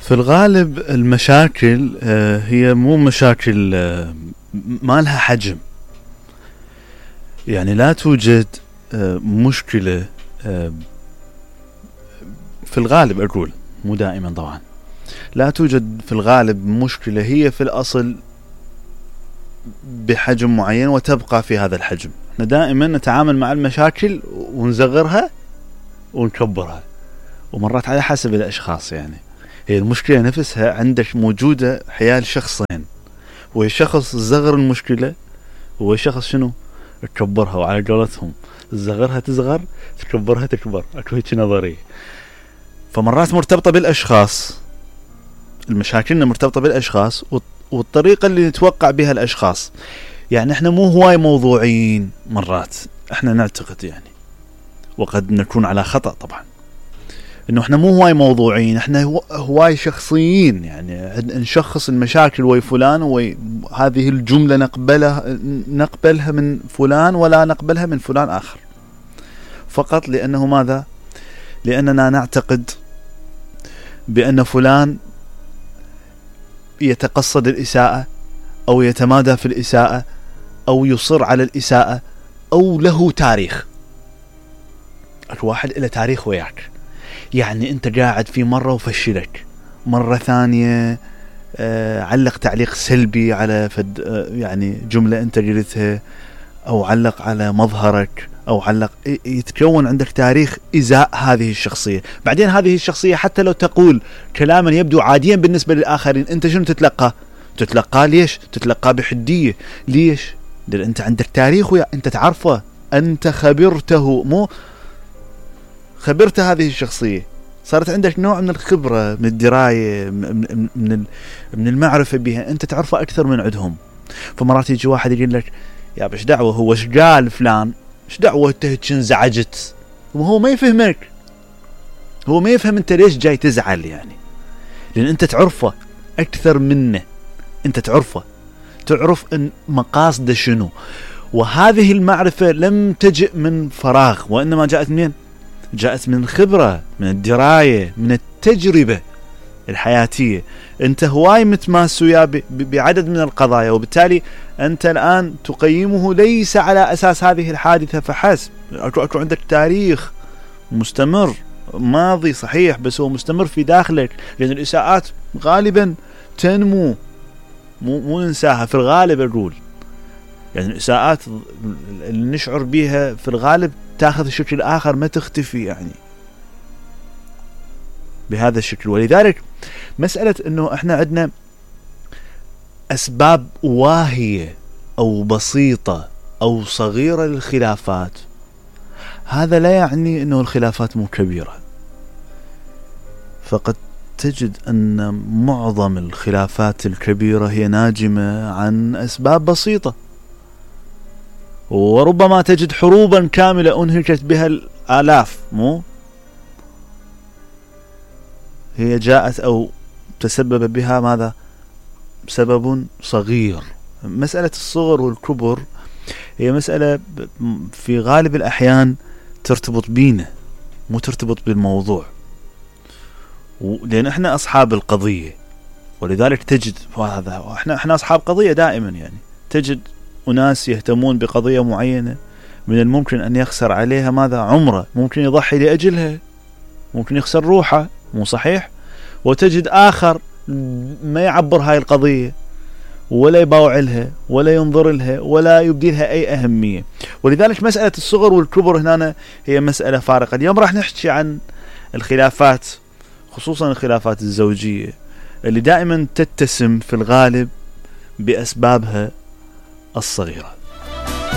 في الغالب المشاكل هي مو مشاكل ما لها حجم. يعني لا توجد مشكلة في الغالب، أقول مو دائما طبعا، لا توجد في الغالب مشكلة هي في الأصل بحجم معين وتبقى في هذا الحجم. احنا دائما نتعامل مع المشاكل ونصغرها ونكبرها، ومرات على حسب الأشخاص. يعني هي المشكلة نفسها عندك موجودة حيال شخصين، والشخص صغر المشكلة والشخص شنو تكبرها، وعلى قولتهم صغرها تصغر تكبرها تكبر، اكو هيك نظرية. فمرات مرتبطة بالأشخاص، المشاكلنا مرتبطة بالأشخاص والطريقة اللي نتوقع بها الأشخاص. يعني احنا مو هواي موضوعيين مرات، احنا نعتقد يعني، وقد نكون على خطأ طبعا، انه احنا مو هواي موضوعيين، احنا هواي شخصيين. يعني نشخص المشاكل وي فلان وهذه الجملة نقبلها من فلان ولا نقبلها من فلان آخر، فقط لأنه ماذا؟ لأننا نعتقد بأن فلان يتقصد الإساءة أو يتمادى في الإساءة أو يصر على الإساءة أو له تاريخ. الواحد إلى تاريخ وياك، يعني أنت قاعد في مرة وفشلك، مرة ثانية علق تعليق سلبي على يعني جملة أنت قلتها، أو علق على مظهرك، أو علق، يتكون عندك تاريخ إزاء هذه الشخصية. بعدين هذه الشخصية حتى لو تقول كلاما يبدو عاديا بالنسبة للآخرين، أنت شنو تتلقى ليش؟ تتلقى بحدية. ليش؟ لأن أنت عندك تاريخ أنت تعرفه، أنت خبرته، مو خبرت هذه الشخصية، صارت عندك نوع من الخبرة، من الدراية، من المعرفة بها، أنت تعرفه أكثر من عندهم. فمرات يجي واحد يقول لك يا بش دعوة هو ايش قال فلان، ايش دعوة انت هيك انزعجت، وهو ما يفهمك، هو ما يفهم انت ليش جاي تزعل. يعني لأن انت تعرفه أكثر منه، انت تعرف ان مقاصده شنو. وهذه المعرفة لم تجئ من فراغ، وإنما جاءت منين؟ جاءت من خبرة، من الدراية، من التجربة الحياتية. انت هواي متماس وياه بعدد من القضايا، وبالتالي انت الآن تقيمه ليس على أساس هذه الحادثة فحسب. اكو عندك تاريخ مستمر، ماضي صحيح بس هو مستمر في داخلك، لأن الإساءات غالبا تنمو، مو ننساها في الغالب. أقول يعني الإساءات اللي نشعر بها في الغالب تأخذ شكل آخر، ما تختفي يعني بهذا الشكل. ولذلك مسألة انه احنا عندنا اسباب واهية او بسيطة او صغيرة للخلافات، هذا لا يعني انه الخلافات مو كبيرة. فقد تجد ان معظم الخلافات الكبيرة هي ناجمة عن اسباب بسيطة، وربما تجد حروبا كاملة انهكت بها الآلاف، مو هي جاءت أو تسبب بها ماذا؟ سبب صغير. مسألة الصغر والكبر هي مسألة في غالب الأحيان ترتبط بينا، مو ترتبط بالموضوع، لأن احنا أصحاب القضية. ولذلك تجد هذا، احنا أصحاب قضية دائما. يعني تجد أناس يهتمون بقضية معينة من الممكن أن يخسر عليها ماذا؟ عمره، ممكن يضحي لأجلها، ممكن يخسر روحه، مو صحيح؟ وتجد آخر ما يعبر هاي القضية ولا يباوع لها ولا ينظر لها ولا يبدي لها أي أهمية. ولذلك مسألة الصغر والكبر هنا هي مسألة فارقة. اليوم راح نحكي عن الخلافات، خصوصا الخلافات الزوجية اللي دائما تتسم في الغالب بأسبابها الصغيرة.